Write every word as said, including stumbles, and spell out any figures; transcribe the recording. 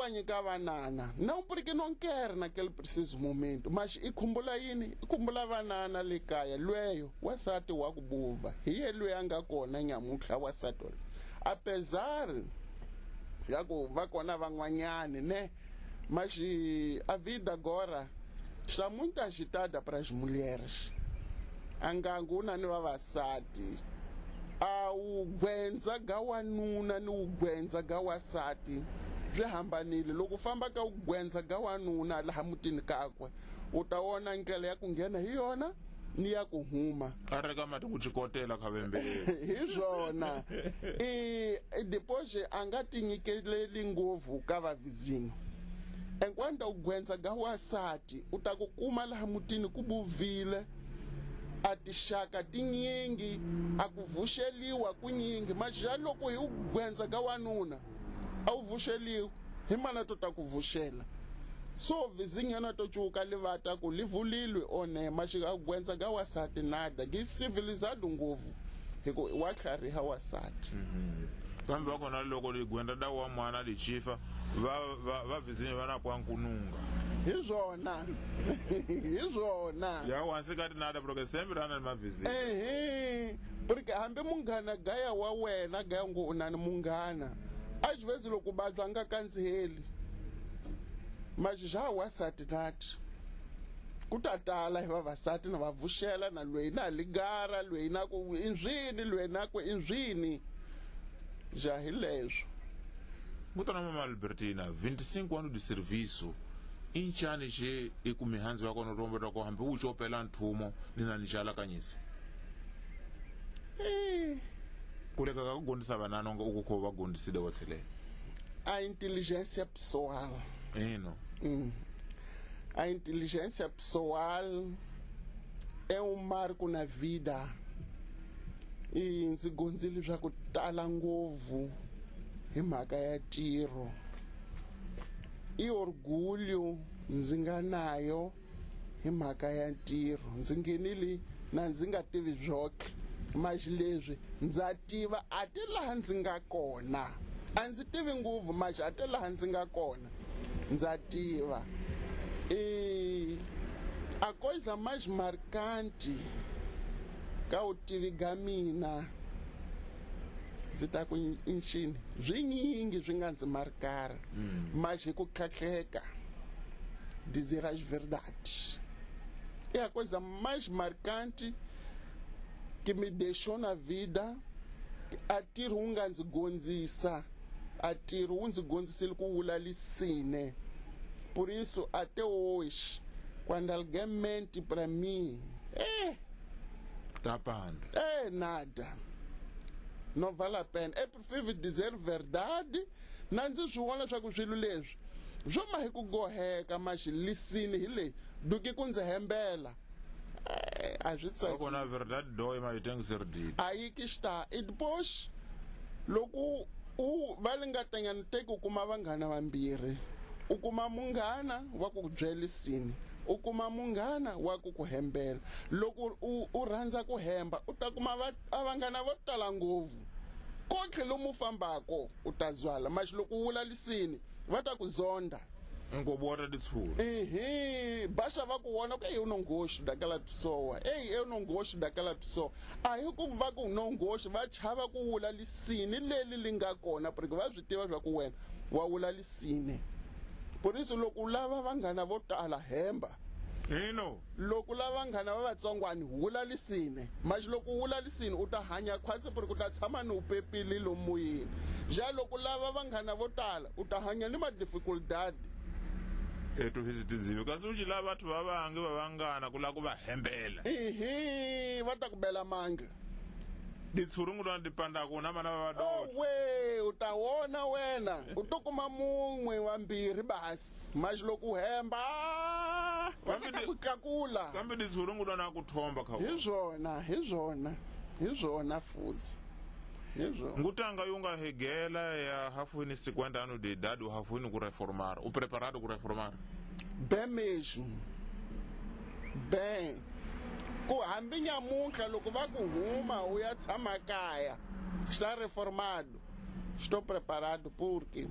wa nyika vanana não porque não quer naquele preciso momento, mas i khumbula yini? I khumbula vanana le kaya lweyo wasati wa ku buva hi ye loyi a nga kona nyamuntlha wasati loyi, apesar ya ku va kona van'wanyani ne, mas a vida agora está muito agitada para as mulheres. Angangu na ni vavasati a wu gwendza ga wanuna ni wu gwendza ga wasati swi hambanile. Loko u famba ka wu gwendza ga wanuna laha mutini kakwe u ta vona ndlela ya ku nghena hi yona ni ya ku huma a reka mati ku chikotela khavembe hi swona. E depois a nga tinyikeleli ngopfu ka vavizinho. Enquanto u gwendza ga wasati u ta ku kuma laha mutini ku buvile a tixaka tinyingi a ku vuxeliwa kunyingi, mas já loko hi u gwendza ga wanuna a wu vuxeliwi hi mana to ta ku vuxela. So vizinho na to cuka livata ku livulilwe one mas a gwendza ga wasati nada gi civilizado ngopfu hi ku wa tlhariha wasati. Kambe va kona loko ligwenda da wa mwana lichifa va va va vizinho va na pwa nkununga hi swona hi swona ya wansikati nada porque sempre ana ni mavizinho ehe, porque hambi munghana gaya wa wena gaya ngo u na ni munghana às vezes loko vabya nga kandziheli mas já wasati nati ku ta tala hi vavasati na va vuxela na loyi na ligara loyi na ku inzwini loyi na ku inzwini já hi leswo. Mutana mama Albertina, vinte e cinco anos de serviço inchani xe i ku mihandzu ya kona rombo ra ko hambi wu xopela nthumo ni na njala kanyisa eh kuleka ka ku gondisa vana nga u ku va gondisile wa tshelela a inteligência pessoal eno hum. A inteligência pessoal é um marco na vida e ndzi gondzile swa ku tala ngopfu hi mhaka ya ntirho. I orgulho ndzi nga nayo hi mhaka ya ntirho. Ndzi nghenile na ndzi nga tivi swoke, mas leswi ndza tiva a ti laha ndzi nga kona. A ndzi tivi ngopfu mas a ti laha ndzi nga kona ndza tiva. E a coisa mais marcante ka vutivi ga mina ndzi ta ku inchini swinyingi swi nga ndzi markara mas hi ku tlhatlheka dizer as verdades é a coisa mais marcante que me deixou na vida. A ntirho wu nga ndzi gondzisa, a ntirho wu ndzi gondzisile ku wula lisine. Por isso até hoje quando alguém mente para mim eh tapando é nada, não vale a pena. É preferível dizer verdade na ndzi swi vona swa ku swilo leswi swo ma hi ku goheka mas lisini hi leyi do que ku ndzi hembela a swi tsaki. Kona verdade dói mas tem que ser dita. Aí que está. E depois loko u va lingatanyana teki u kuma vanghana vambirhi, u kuma munghana wa ku byela lisini, u kuma munghana wa ku ku hembela. Loko u u rhandza ku hemba u ta kuma va vanghana vo tala ngopfu kotlhe lomu fambako u ta zwala, mas loko u wula lisini va ta ku zonda ngobora ditshula ehe baxa va ku vona ku eu não gosto daquela pessoa, ei eu não gosto daquela pessoa. Aí ku va ku não gosto va chava ku wula lisini leli li nga kona porque va swi tiva swa ku wena wa wula lisini. Por isso loko u lava vanghana vo tala hemba ino, loko lava vanghana va vatsongwani wula lisini, mas loko u wula lisini u ta hanya khwatsi porque u ta tshama ni u pepile lomoyeni. Já loko lava vanghana vo tala u ta hanya ni ma dificuldade etu hisitinziwe kasi u lava batho ba bange ba bangana ku la ku va hembela ehe va ta ku bela manga ditshurungu lwa dipanda na vana va oh, we u ta wona wena u to kuma mun'we wambirhi basi mas loko u hemba va ta ku tlakula kambe ditshurungu lwa na ku thomba kha hi swona hi swona hi swona fuzi ngutanga yunga hegela ya hafuini cinquenta anos de idade o hafuini ku reformar o preparado ku reformar bem mesmo bem ku hambi nyamuntlha loko va ku huma u ya tshama kaya está reformado, estou preparado porque